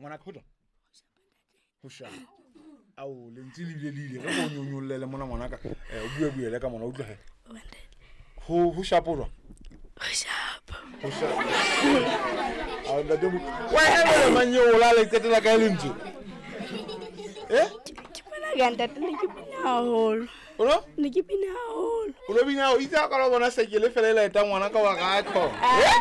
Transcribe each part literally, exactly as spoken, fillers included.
Ngwana ka ho jwang? Ho shapa. Ao lentswe le bile le ile re go nyonyollele mona ngwanaka. Eh o bue buele ka mona o utlwe he. Ho ho shapa o jwang? Ho shapa. Ho shapa. Ao ntate mo. Wa hele manye o la le qetela ka lentswe. Eh? Ke bona ka ntate ne ke bina haholo. O no? Ne ke bina haholo. O lo bina o itse ka lo bona sekele fela e laeta ngwana ka wa ga tho. Eh?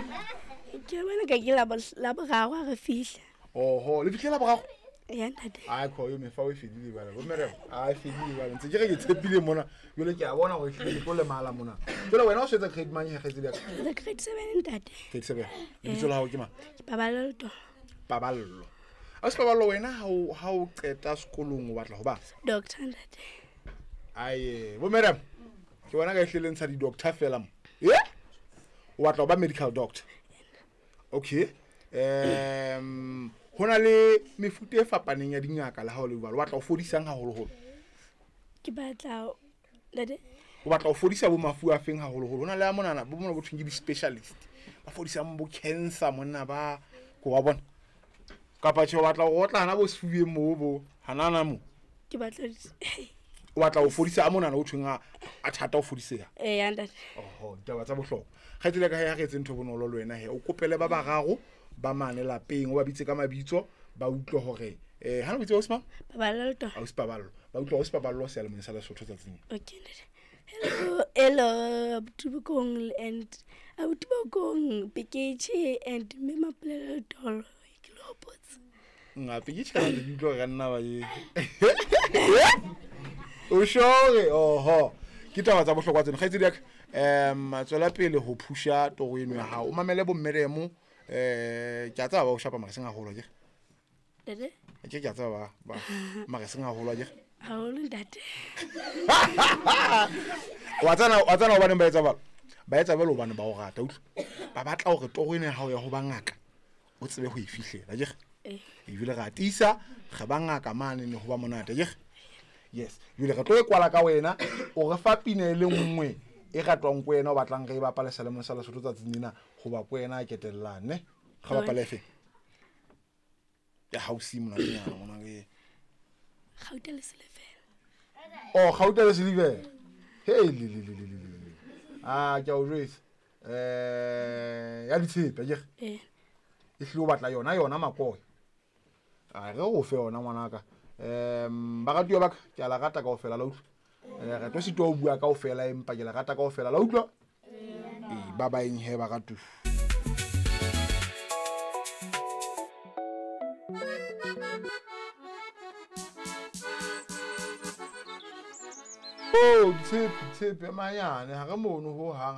Ke bona ka ke la la boraro ha re fihla. Oho, le fihle la boraro? Ya ntate. Ai kho yo mefa o e fedile bana. Bo mere a e fedile bana. Ntse ke re ke tshepile mona. Jwale ke a bona hore ehlile ke tlo lemala mona. Jwale wena o swetsa grade mang he kgaitsedi ya ka? Le grade seven ntate. Grade seven. Lebitso la hao ke mang? Ke Paballo to. Paballo. A se Paballo wena ha o ha o qeta sekolong o batla ho ba? Doctor ntate. Aye, bo mere. Ke bona ka ehlile ntsha di doctor fela mo. Eh? O batla ho ba medical doctor. Okay. Um hona le mefuta e fapaneng ya dingaka le ha o le jwalo. O batla ho fodisang haholoholo? Ke batla ntate. O batla ho fodisa bo mafu a feng haholoholo? Hona le a monana bo mona bo thweng ke di-specialist. Ba fodisang bo cancer monna ba ko wa bona. Kapa tjhe o batla ho otla hana bo sefubeng moo bo hanana mo. Ke batla o batla ho fodisa a monana o thweng a a thata ho fodiseha. Eh ya ntate. Oho, ditaba tsa bohlokwa. Kgaitsedi ka he ha re etse ntho bonolo le wena he. O kopele ba bararo ba mane lapeng o ba bitse ka mabitso ba utlwe hore eh ha no bitse Osman? Paballo to. Ausi Paballo. Ba utlwe Ausi Paballo seyalemoyeng sa Lesotho tsatsing. Okay ntate. Hello, hello abuti Bokong and abuti Bokong Peketjhe and mme Mapolelo Tolo ke lo hopotse. Nga Peketjhe ka ke utlwe ka nna ba ye. O shore oho. Ke taba tsa bohlokwa tseno kgaitsedi ya ka. Em tswela pele ho phusha toro eno ya hao. O mamele bo mmeremo eh ke a tsaba ba o shapa mara seng haholo akere? Ntate? Ke ke a tsaba ba ba mara seng haholo akere? Haholo ntate. Wa tsana wa tsana hobaneng ba etsa jwalo? Ba etsa jwalo hobane ba o rata utlwa. Ba batla hore toro eno ya hao ya ho ba ngaka o tsebe ho e fihlela akere? Eh. Ebile re atisa re ba ngaka mane ne ho ba monate akere? Yes. Ebile re tlo e kwala ka wena o re fa pina e le nngwe e ratwang ko wena o batlang re e bapale seyalemoyeng sa Lesotho tsatsing lena hoba ko wena a ketellang ne. Re bapale efe? Ya hausi monatenyana mona ke. Gauta le silivera. Oh, gauta le silivera. Hey le le le le le le. Ah, ke a o jwetsa. Eh, ya ditshepe akere? Eh. E hlile o batla yona yona makoe. A re o fe yona ngwanaka. Em baratuwa ba ka ke a la rata kaofela la utlwa. Eh re tlo sitwa ho bua kaofela empa ke la rata kaofela la utlwa. Eh ba ba eng he baratu. Oh, tshepe tshepe manyane ha re mono ho hang.